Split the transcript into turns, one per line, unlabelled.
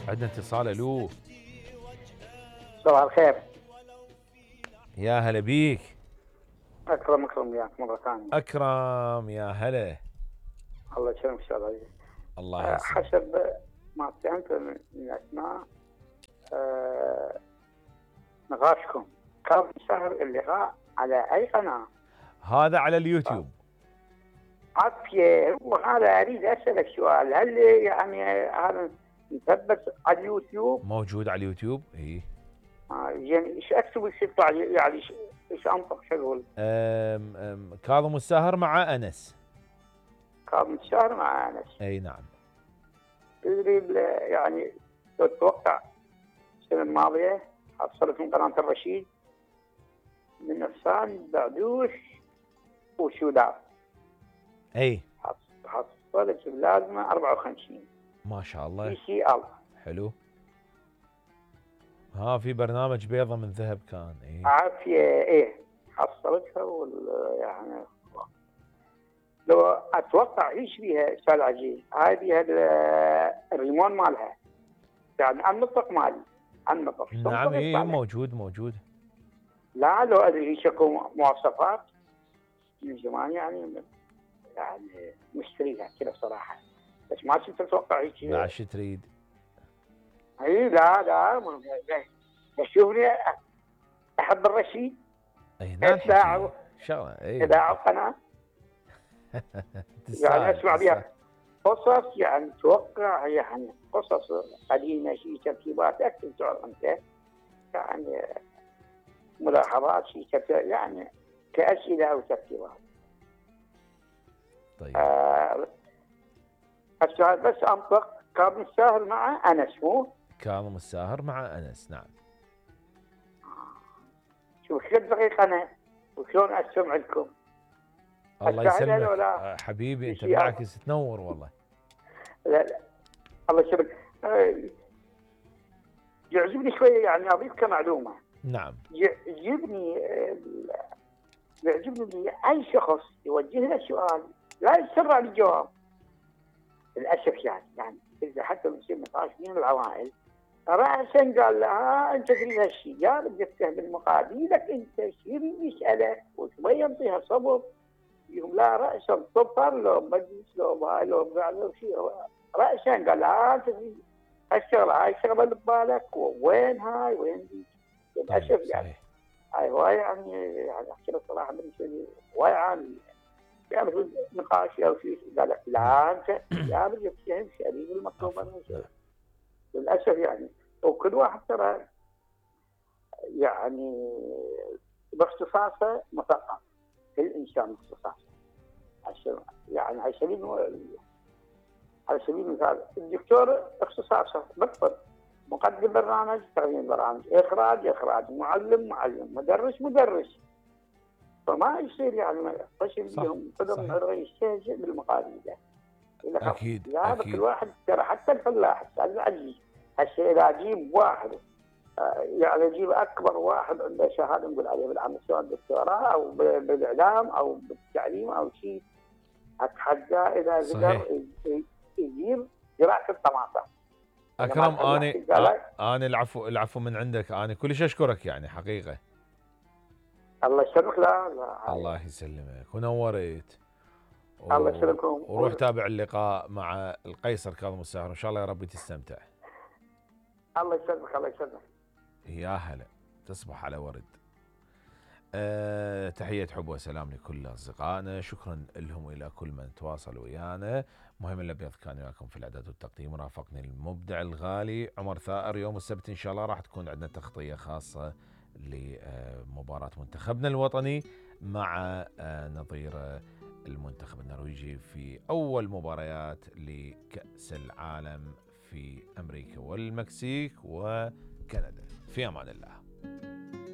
عندنا اتصال. الو
صباح الخير.
يا هلا بيك.
اكرم وياك مره ثانيه.
اكرم يا هلا.
الله يسلمك استاذ عزيز.
الله يسلمك.
حسب ما فهمت من اسماء نقاشكم كان سهر اللقاء على اي قناه؟
هذا على اليوتيوب.
عافيه. وهذا اريد اسالك سؤال، هل يعني هذا مثبت على اليوتيوب؟
موجود على اليوتيوب اي.
يعني ايش اكتب يطلع يعني ايش انطق شو اقول؟
كاظم الساهر مع انس.
كاظم الساهر مع انس.
اي نعم.
تدري يعني تتوقع السنه الماضيه حصلت من قناه الرشيد من نفسان بعدوش وشوداب.
اي
حصلت بلازمه 54.
ما شاء الله.
في سي ال.
حلو. في برنامج بيضة من ذهب كان. اي
عافيه. ايه حصلتها يعني لو اتوقع ايش بيها استاذ عزيز، هذه الريمون مالها يعني النطق مالي النطق.
نعم اي موجود.
لا لو ادري شكو مواصفات من زمان يعني مشتريها كذا صراحه، بس ما كنت اتوقع هيك.
لا شو تريد؟
اي لا شوفني احب الرشيد.
اي نعم شغله. اي
اذاعه قناه يعني اسمع بها قصص، يعني توقع يعني قصص قديمه شيء ترتيبات اكثر تعرف انت يعني ملاحظات شيء يعني كاسئله او ترتيبات.
طيب
السؤال بس انطق كاظم الساهر مع انس مو؟
كاظم الساهر مع انس نعم.
شوف كم دقيقه انا وشلون استمع لكم.
الله يسلمك حبيبي انت بالعكس تنور والله.
لا الله يسلمك. يعجبني شويه يعني اضيف كمعلومه.
نعم.
يعجبني اي شخص يوجه له سؤال لا يسرع بالجواب للاسف يعني اذا حتى بيصير نقاش بين العوائل راسا قال له انت تريد هالشيء، قال جبته بالمقابلك انت شو يسالك وشوي ينطيها صبر يقول لا راسا صفر لو مجلس لو باي لو بعد شيء راسا قال لا انت تريد هالشغله هاي الشغله اللي ببالك وين هاي وين دي للاسف يعني. هاي هواي يعني احكي لك صراحه بالنسبه لي هواي عامل يعني نقاش او شيء قال لك لا انت يا بدك تفهم شريك المطلوب للاسف يعني. وكل واحد ترى يعني باختصاصه مثقف الانسان باختصاصه يعني على سبيل المثال الدكتور اختصاصه بالطب مقدم برنامج تقديم برامج اخراج معلم مدرس فما يصير يعني قسم بهم قدم عرضي يستهزئ بالمقابله.
اكيد
لا كل واحد ترى حتى الفلاح استاذ العزيز هسه اذا اجيب واحد يعني اجيب اكبر واحد عنده شهاده نقول عليه بالعمل سواء دكتوراه او بالاعلام او بالتعليم او شيء اتحداه اذا قدر يجيب زراعه الطماطم.
اكرم انا العفو من عندك، انا كلش اشكرك يعني حقيقه.
الله يسلمك. لا
الله يسلمك ونورت.
الله يسلمكم.
وروح تابع اللقاء مع القيصر كاظم الساهر ان شاء الله يا رب تستمتع.
الله يسلمك.
يا هلا تصبح على ورد. تحية حب وسلام لكل أصدقائنا، شكرا لهم وإلى كل من تواصلوا ويانا. مهم الأبيض كان وياكم في الإعداد والتقديم، رافقني المبدع الغالي عمر ثائر. يوم السبت إن شاء الله راح تكون عندنا تغطية خاصة لمباراة منتخبنا الوطني مع نظير المنتخب النرويجي في أول مباريات لكأس العالم في أمريكا والمكسيك وكندا. في أمان الله.